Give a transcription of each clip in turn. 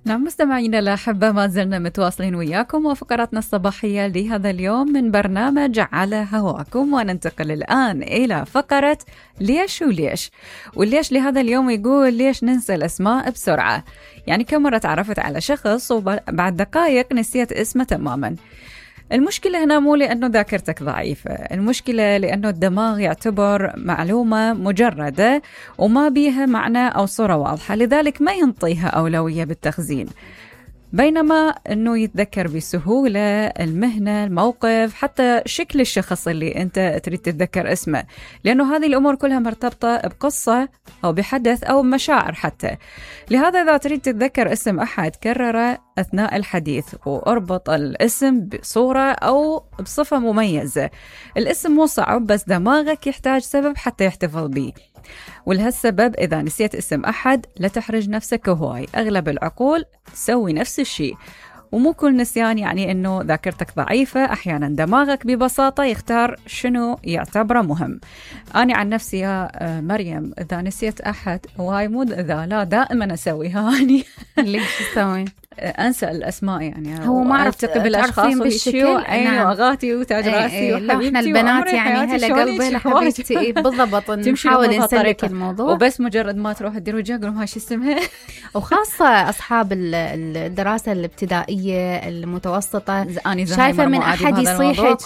نعم مستمعينا الأحبة، ما زلنا متواصلين وياكم وفقراتنا الصباحية لهذا اليوم من برنامج على هواكم، وننتقل الآن إلى فقرة ليش وليش. والليش لهذا اليوم يقول ليش ننسى الأسماء بسرعة. يعني كم مرة تعرفت على شخص وبعد دقائق نسيت اسمه تماما. المشكلة هنا مو لأنه ذاكرتك ضعيفة، المشكلة لأنه الدماغ يعتبر معلومة مجردة وما بيها معنى أو صورة واضحة، لذلك ما ينطيها أولوية بالتخزين، بينما أنه يتذكر بسهولة المهنة، الموقف، حتى شكل الشخص اللي أنت تريد تتذكر اسمه، لأنه هذه الأمور كلها مرتبطة بقصة أو بحدث أو مشاعر حتى. لهذا إذا تريد تتذكر اسم أحد كرره أثناء الحديث وأربط الاسم بصورة أو بصفة مميزة. الاسم مو صعب، بس دماغك يحتاج سبب حتى يحتفظ به، ولهالسبب إذا نسيت اسم أحد لا تحرج نفسك هواي، أغلب العقول تسوي نفس الشيء، ومو كل نسيان يعني أنه ذاكرتك ضعيفة. أحيانا دماغك ببساطة يختار شنو يعتبره مهم. أنا عن نفسي يا مريم إذا نسيت أحد، وهاي مو إذا، لا دائما أسويها أني. ليش تسوي؟ أنسى الأسماء، يعني هو ما عرفت بالأشخاص بالشكل عيني وأغاتي وتاج راسي وحبيبتي. احنا البنات يعني هلا قلبي لحبيبتي بالضبط، نحاول نسلك الموضوع، وبس مجرد ما تروح تدير وجهك قولوا هاي شو اسمها. وخاصة أصحاب الدراسة الابتدائية المتوسطة، شايفة من أحد يصيحك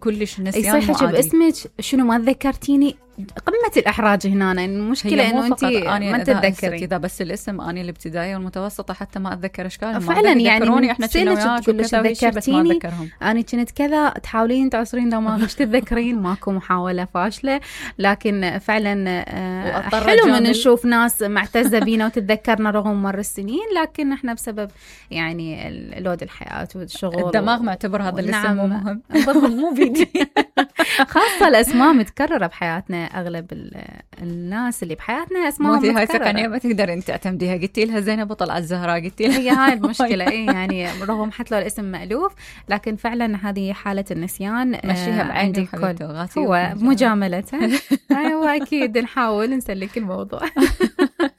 كلش نسيان يصيحك باسمك شنو ما تذكرتيني، قمة الإحراج هنا. المشكلة إنه أنت ما تتذكرين. إذا بس الاسم أنا الابتدائية والمتوسطة حتى ما أتذكر أشكالهم فعلا، يعني إحنا كنا تذكرتيني أنا كنت كذا، تحاولين تعصرين دماغك مش تتذكرين. ماكو محاولة فاشلة، لكن فعلا حلو من نشوف ناس معتزة بينا وتتذكرنا رغم مر السنين، لكن إحنا بسبب يعني لود الحياة والشغل الدماغ معتبر هذا الاسم مو مهم. مو بيدي. خاصة الأسماء متكررة بحياتنا، أغلب الناس اللي بحياتنا أسماء متكررة. هاي ثقنية ما تقدر أنت تعتمديها. قلتي لها زينب وطلعت زهراء، قلتي لها هي هاي المشكلة. يعني رغم حتى لو الاسم مألوف، لكن فعلا هذه حالة النسيان. مشيها بعيني هو مجاملة. أيوة أكيد نحاول نسلك الموضوع.